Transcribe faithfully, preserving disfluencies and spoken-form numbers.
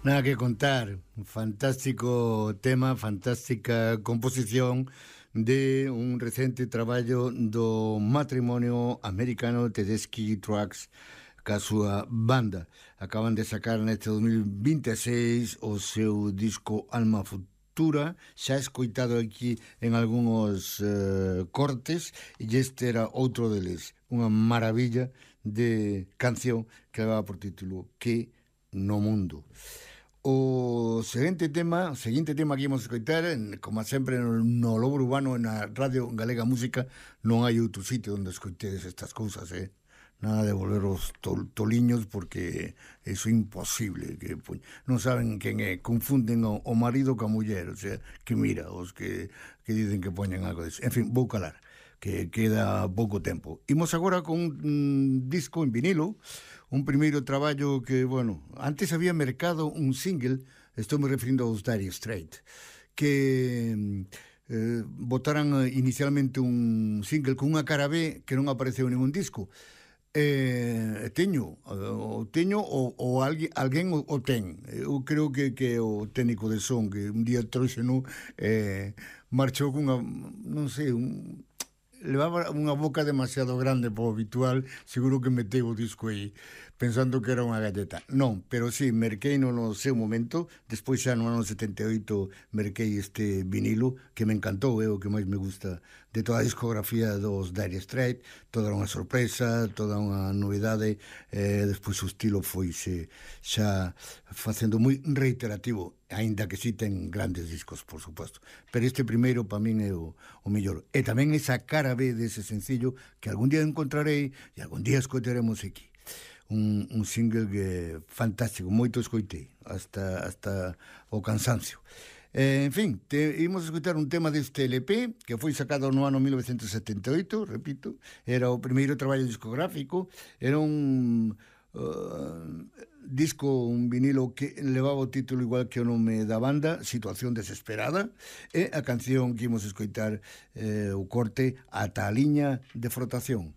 Nada que contar, fantástico tema, fantástica composición de un recente traballo do matrimonio americano Tedeschi Trucks ca súa banda. Acaban de sacar neste dos mil vinte e seis o seu disco Alma Futura, xa escoitado aquí en algúns eh, cortes, e este era outro deles, unha maravilla de canción que leva por título Que no mundo. O seguinte tema, o seguinte tema que íamos a escoitar, como sempre no, no Lobo Urbano, na Radio Galega Música, non hai outro sitio onde escoitedes estas cousas, eh? Nada de volver os tol, toliños, porque iso é imposible, que non saben quen é, confunden o, o marido ca muller, o sea, que mira, os que, que dicen que poñen algo disso. En fin, vou calar, que queda pouco tempo. Imos agora con un disco en vinilo, un primeiro traballo que, bueno, antes había mercado un single, estou me referindo aos Dire Straits, que eh, botaran inicialmente un single con unha cara B que non apareceu en ningún disco. Eh, teño o teño ou, ou alguén, alguén o, o ten. Eu creo que, que o técnico de son que un día trouxeno eh, marchou cunha, non sei, un levaba unha boca demasiado grande para o habitual, seguro que meteu o disco aí pensando que era unha galleta. Non, pero sí, merquei no, no seu momento, despois xa no ano setenta e oito merquei este vinilo que me encantou, é o que máis me gusta de toda a discografía dos Dire Straits, toda unha sorpresa, toda unha novidade, eh, despois o estilo foise xa facendo moi reiterativo, aínda que si ten grandes discos, por suposto, pero este primeiro para min é o, o mellor, e tamén esa cara B dese sencillo que algún día encontrarei e algún día escoitaremos aquí. Un, un single que fantástico, moito escoitei hasta, hasta o cansancio. Eh, en fin, te, imos a escoitar un tema deste L P que foi sacado no ano mil novecentos e setenta e oito, repito, era o primeiro traballo discográfico, era un uh, disco, un vinilo que levaba o título igual que o nome da banda, Situación Desesperada, e a canción que imos a escoitar, eh, o corte Ata a liña de frotación.